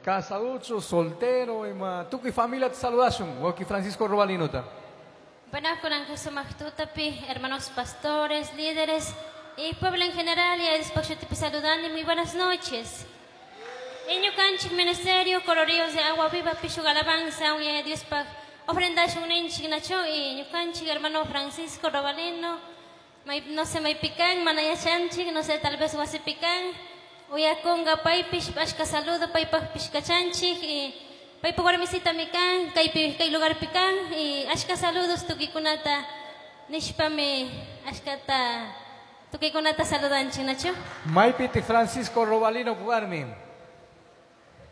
Casaducho, soltero, ima tukuy familia saludashun, wawqi Francisco Robalinota. Buenas tutapi, hermanos pastores, líderes y pueblo en general, y después te saludando y muy buenas noches. Ñukanchik ministerio, Coro Ríos de Agua Viva, Pichu Alabanza, y Dios pa ofrenda nacho y ñukanchik hermano Francisco Robalino, no sé, maypikan, manayachanchik, no sé, tal vez wasipikan, uyakunga paypish, ashka saludo, paypaj pishkachanchik, y paypa warmisita mikan, kaypi kay lugar pikan, y ashka saludos tukikunata, nishpami, ashkata, tukikunata saludanchik, nacho. Maypiti Francisco Robalino warmi.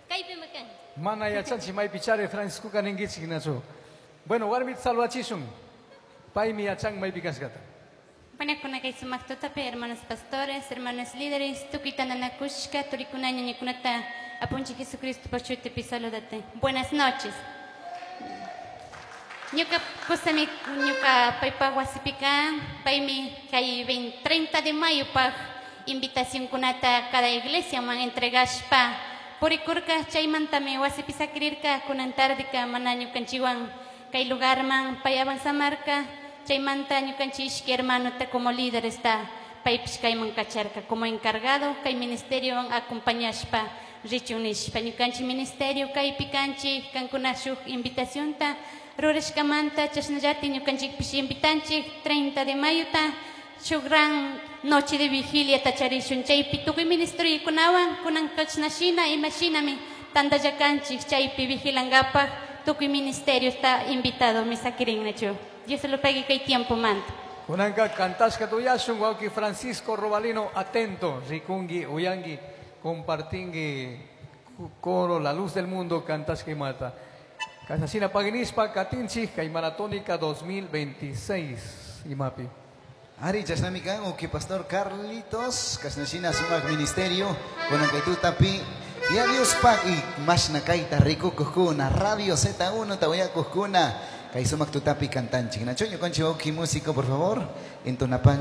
Kaypi mikan. Mana yachanchik maypichari Francisco kaninkichik nacho. Bueno, warmita saludachishun. Paymi yachan maypi kashkata. Bueno, kay sumak tutapi, hermanos pastores, hermanos líderes, tukuy tantanakushka, turikuna ñañakunata, apunchik Jesucristo pachutipi saludate. Buenas noches. Ñuka kusami ñuka paypa wasipika, paymi kay 30 de mayo paj invitación kunata cada iglesia man entregashpa purikurka chaymantami wasipi sakirirka kunan tardeka mana ñukanchikwan kay lugarman pay avanzamarka chaymanta ñukanchik ishki hermanota como líder está paypish kayman kacharka como encargado kay ministerio acompañashpa richun nishpa ñukanchik ministerio kaypi kanchik kankuna shuk invitacionta rurashkamanta chashnallatik ñukanchikpish invitanchik 30 de mayota shuk gran noche de vigilia tacharishun chaypi tukuy ministeriokunawan kunan kachnashina imashinami tantallakanchik chaypi vigilankapaj tukuy ministerio está invitado misakirinnachu. Dios se lo pague kay tiempo manta. Kunanka kantashka tuyashun wawqi Francisco Robalino atento, rikungi, uyangi, compartingi coro La Luz del Mundo kantashka imata. Kasasina paginispa katinchik kay Maratónica 2026 imapi. Ari chashnami kan uki pastor Carlitos kashnashina sumak ministerio kunan tutapi ya Dios pak y mashna kayta rikukujkuna Radio Z1 tawayakujkuna kay sumak tutapi kantanchik. Nacho ñukanchik wawqi músico por favor entonapan.